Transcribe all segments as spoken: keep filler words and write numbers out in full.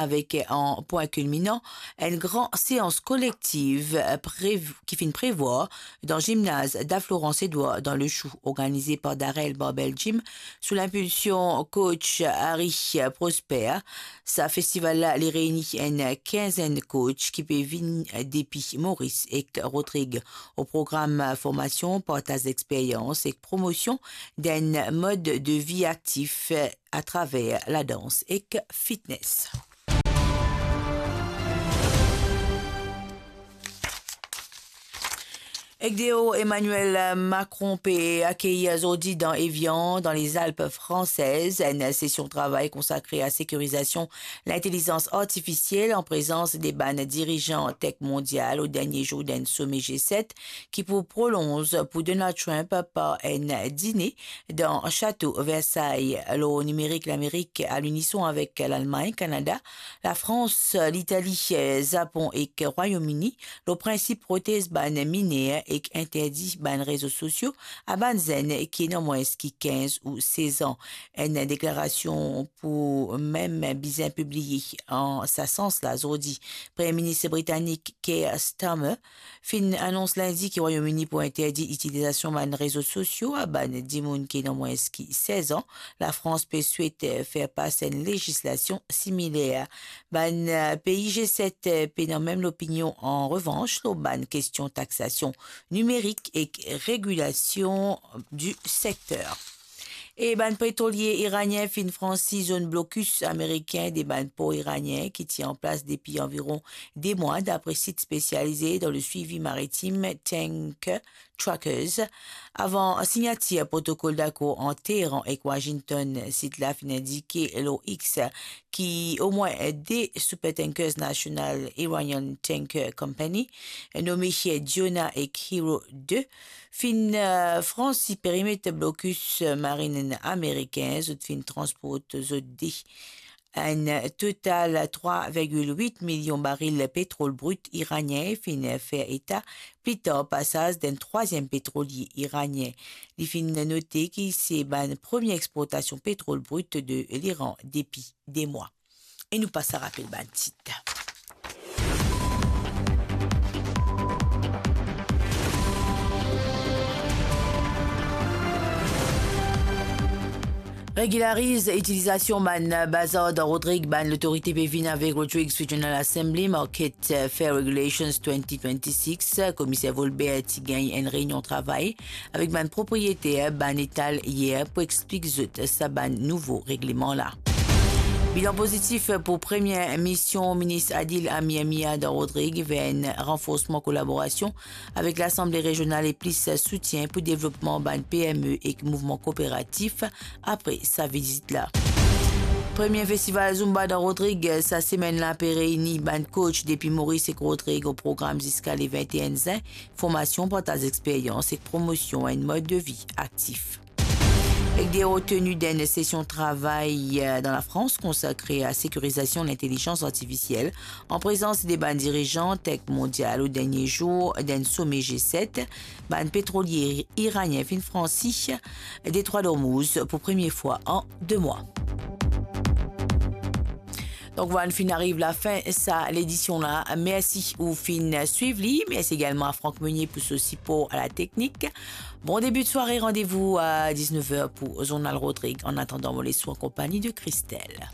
avek an pwin kilminan, enn gran seans kolektiv, eh, prev-, ki finn prevwar dan zimnaz Da Florence Edouard dan Le Chou, organize par Darrell Barbell Gym, sou linpilsion coach Harry Prosper. Sa festival la, li reyni enn kinzenn coach ki pe vinn depi Moris ek Rodrig. O program, formasion, partaz lexperyans ek promosion d'enn mod de vi aktif atraver ladans ek fitness. Ek deor, Emmanuel Macron pe akeyir zordi dan Evian, dan Lezalp Fransez, enn sesion travay konsakre a sekirizasion lintelizans artifisiel an prezans de bann dirizan tek mondial o dernie zour d'enn some G set ki pou prolonz pou Donald Trump par enn dine dan Sato Versailles. Lor nimerik, Lamerik, a linison avek Lalmagn, Kanada, Lafrans, Litali, Zapon ek Rwayom Ini, lor prinsip protez bann miner ek interdi bann rezo sosio a bann zenn ki ena mwins ki kinz ou sez an. Enn deklarasion pou mem bizin pibliye an sa sans la zordi. Premie Minis britanik Keir Starmer finn anons Lindi ki Rwayom Ini pou interdi itilizasion bann rezo sosio a bann dimoun ki ena mwins ki sez an. Lafrans pe swete fer pas enn lezislasion similer. Bann, eh, pei G set, eh, pena mem lopinion, an revans, lor bann kestion taksasion nimerik ek regilasion di sekter. E bann petrolie iranien finn fransi zone blocus amerikin de bann por iranien ki ti an plas depi anviron de mwa, dapre sit spesialize dan le swivi maritim Tanker Trackers. Avan signatir protokol dakor ant Teheran ek Washington, sit la finn indike lor X ki omwin de supertankers National Iranian Tanker Company, nome Diona ek Hero de, finn, eh, fransi perimet blokis marin amerikin. Zot finn transport zot de enn total trwa virgil wit milion baril petrol brit iranien, finn fer eta pli tar pasaz d'enn trwaziem petrolie iranien. Li finn note ki se bann premie exportasion petrol brit de Liran depi de mwa. E nou pas a rapel bann tit. Regilariz itilizasion bann bazar dan Rodrig, bann lotorite pe vinn avek Rodrigues Regional Assembly Market Fair Regulations twenty twenty-six. Komiser Volbert ti gagn enn reynion travay avek bann propriyeter bann etal yer pou explik zot sa bann nouvo regleman la. Bilan pozitif pou premie mision minis Adil Amir Mia dan Rodrig ver enn ranforsman kolaborasion avek Lasanble Rezional e plis soutien pou devlopman bann P M E ek mouvman kooperatif apre sa vizit la. Premie festival Zumba dan Rodrig sa semenn la pe reyni bann coach depi Moris ek Rodrig o program ziska le vinte-enn zin, formasion, partaz experyans ek promosion enn mod de vi aktif. Ek de reteni d'enn sesion travay, eh, dan Lafrans konsakre a sekirizasion lintelizans artifisiel, an prezans de bann dirizan tek mondial o dernie zour d'enn some G set, bann petrolie iranien finn fransi Detrwa Dormouz pou premie fwa an de mwa. Donk, vwala, nou finn ariv lafin sa ledision la. Mersi ou finn swiv li. Mersi egalman a Franck Meunier pou so sipor a la teknik. Bon debi de sware, randevou a diznef er pou Zournal Rodrig. An atandan, mo les ou an konpagni de Christelle.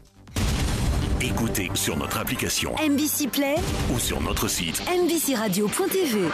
Écoutez sur notre application M B C Play ou sur notre site M B C radio point T V.